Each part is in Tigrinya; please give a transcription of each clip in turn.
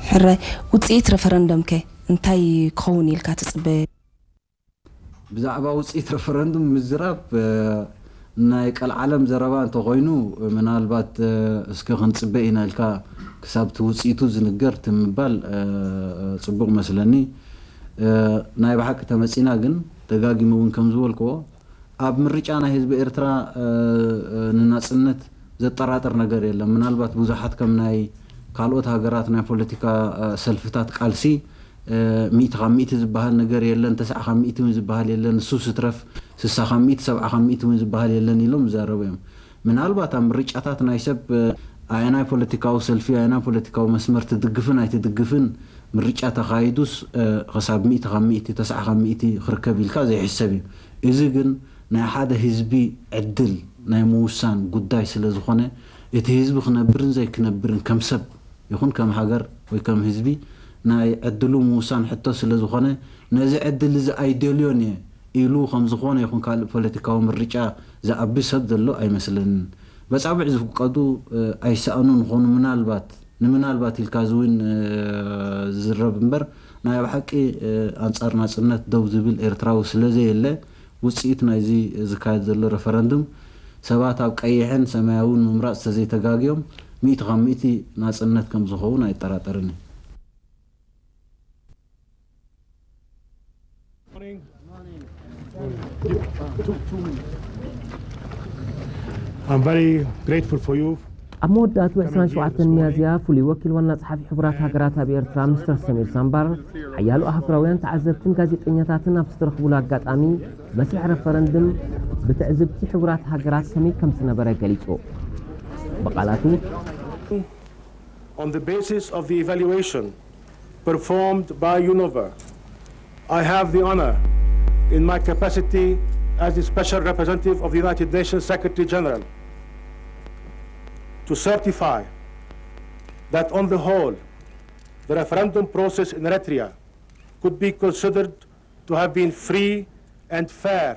ሕራይ፣ ውፅኢት ረፈረንደምከ እንታይ ክኸውን ኢልካ ትፅበ? ብዛዕባ ውፅኢት ረፈረንዱም ምዝራብ ናይ ቀልዓለም ዘረባ እንተኾይኑ፣ ምናልባት እስከ ክንፅበ ኢና ኢልካ ክሳብ እቲ ውፅኢቱ ዝንገር ትምባል ፅቡቕ መስለኒ። ናይ ብሓቂ ተመፂና ግን፣ ደጋጊመ እውን ከም ዝበልክዎ፣ ኣብ ምርጫ ናይ ህዝቢ ኤርትራ ንናፅነት ዘጠራጥር ነገር የለን። ምናልባት ብዙሓት ከም ናይ ካልኦት ሃገራት ናይ ፖለቲካ ሰልፍታት ቃልሲ፣ ሚእቲ ካብ ሚእቲ ዝበሃል ነገር የለን፣ ተስዓ ካብ ሚእቲ እውን ዝበሃል የለን፣ ንሱ ስትረፍ ስሳ ካብ ሚእቲ፣ ሰብዓ ካብ ሚእቲ እውን ዝበሃል የለን ኢሎም ይዛረቡ እዮም። ምናልባት ኣብ ምርጫታት ናይ ሰብ ኣየናይ ፖለቲካዊ ሰልፊ ኣየናይ ፖለቲካዊ መስመር ትድግፍን ኣይትድግፍን ምርጫ ተኻይዱስ፣ ክሳብ ሚእቲ ካብ ሚእቲ፣ ተስዓ ካብ ሚእቲ ክርከብ ኢልካ ዘይሕሰብ እዩ። እዚ ግን ናይ ሓደ ህዝቢ ዕድል ናይ ምውሳን ጉዳይ ስለ ዝኾነ፣ እቲ ህዝቢ ክነብርን ዘይክነብርን ከም ሰብ ይኹን ከም ሃገር ወይ ከም ህዝቢ ናይ ዕድሉ ምውሳን ሕቶ ስለ ዝኾነ፣ ነዚ ዕድል እዚ ኣይደልዮን እየ ኢሉ ከም ዝኾነ ይኹን ካልእ ፖለቲካዊ ምርጫ ዝኣቢ ሰብ ዘሎ ኣይመስለንን። በጻብዕ ዝፍቀዱ ኣይሰኣኑን ይኾኑ፣ ምናልባት ንምናልባት ኢልካ እዚ እውን ዝዝረብ እምበር፣ ናይ ኣብ ሓቂ ኣንጻር ናጽነት ደው ዝብል ኤርትራዊ ስለ ዘየለ፣ ውጽኢት ናይዚ ዝካየድ ዘሎ ረፈረንዱም ሰባት ኣብ ቀይሕን ሰማያውን ምምራጽ ተዘይተጋግዮም፣ ሚእቲ ካብ ሚእቲ ናጽነት ከም ዝኸውን ኣይጠራጠርን እዩ። I'm very grateful for you. ኣብ መወዳእቱ ዕስራን ሸውዓተን ሚያዝያ ፍሉይ ወኪል ዋና ጸሓፊ ሕቡራት ሃገራት ኣብ ኤርትራ ሚስተር ሰሚር ሳምባር ሓያሎ ኣህጉራውያን ተዓዘብትን ጋዜጠኛታትን ኣብ ዝተረኽቡሉ ኣጋጣሚ መስርሕ ረፈረንድም ብትዕዝብቲ ሕቡራት ሃገራት ከመይ ከም ዝነበረ ገሊጹ። ብቓላቱ On the basis of the evaluation performed by UNOVA, I have the honor, in my capacity as the Special Representative of the United Nations Secretary General, to certify that on the whole, the referendum process in Eritrea could be considered to have been free and fair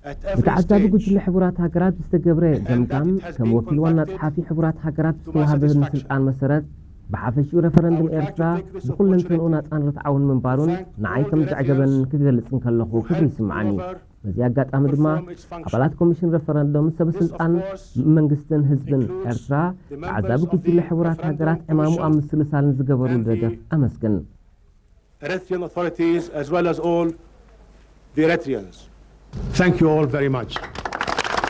at every ብተዓዛቢ stage. ጉጅለ ሕቡራት ሃገራት ብዝተገብረ ገምጋም ከም ወኪል ዋና ጸሓፊ ሕቡራት ሃገራት ዝተዋህበኒ ስልጣን መሰረት ብሓፈሽኡ ረፈረንድም ኤርትራ ብኩለንተንኡ ናጻን ርትዓውን ምንባሩን ንዓይ ከም ዘዕገበንን ክገልጽ እንከለኹ ክብሪ ይስምዓኒ። በዚ ኣጋጣሚ ድማ ኣባላት ኮሚሽን ረፈረንዶም፣ ሰብ ስልጣን መንግስትን ህዝብን ኤርትራ ተዓዛቢ ጉጅለ ሕቡራት ሃገራት ዕማሙ ኣብ ምስልሳል ንዝገበሩ ደገፍ ኣመስግን። Eritrean authorities as well as all the Eritreans. Thank you all very much.